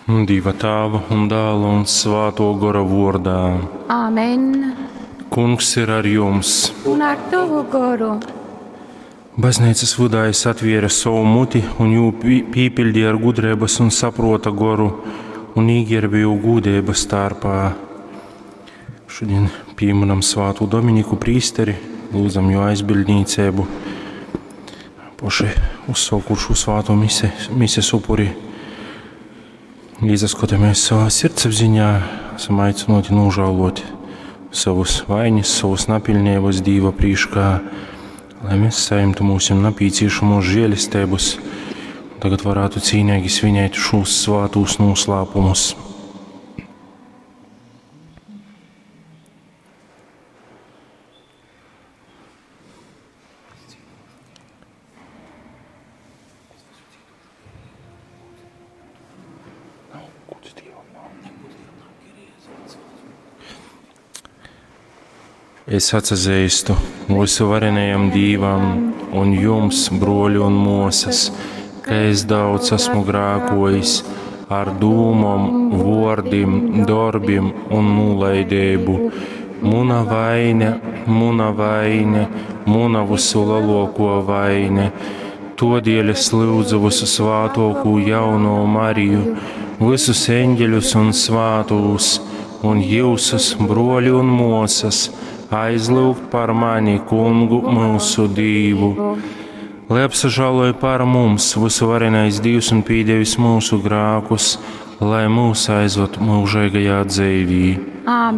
Dieva Tāva un Dāla un Svāto Gora vordā. Āmen. Kungs ir ar jums. Un ar tavu goru. Baznīcas vydā es atvēru savu muti un jū pīpildīju ar gudrības un saprota goru un īģērbu jū gūdības tārpā. Šodien pieminam svātu Dominiku prīsteri, lūdzam jo aizbildnīcību, poši uzsaukušu svāto mise, mises upuri. Īsaskatāmies savā sirdsapziņā, esam aicināti nožēlot savus vainas, savus napilnības Dīva prīškā, lai mēs saimtu mūsim napīciešamos žēlestības, tagad varētu cīnīgi svinēt šos svātūs noslēpumus. Es atsazīstu mūsu varenajam Dīvam un jums, broļi un mosas, ka es daudz esmu grākojis ar dūmom, vordim, dorbim un nulaidību. Muna vaine, muna vaine, muna visu lielāko vaine. Todēļ es lūdzu visu svātokū jauno Mariju, visus eņģeļus un svātūs, un jūsus, broļi un mosas, aizlūgt par mani, kungu mūsu Dīvu. Lai apsažāloja par mums visu varenais Dievs un pīdevis mūsu grākus, lai mūs aizved mūžīgajā dzīvī. Āmen.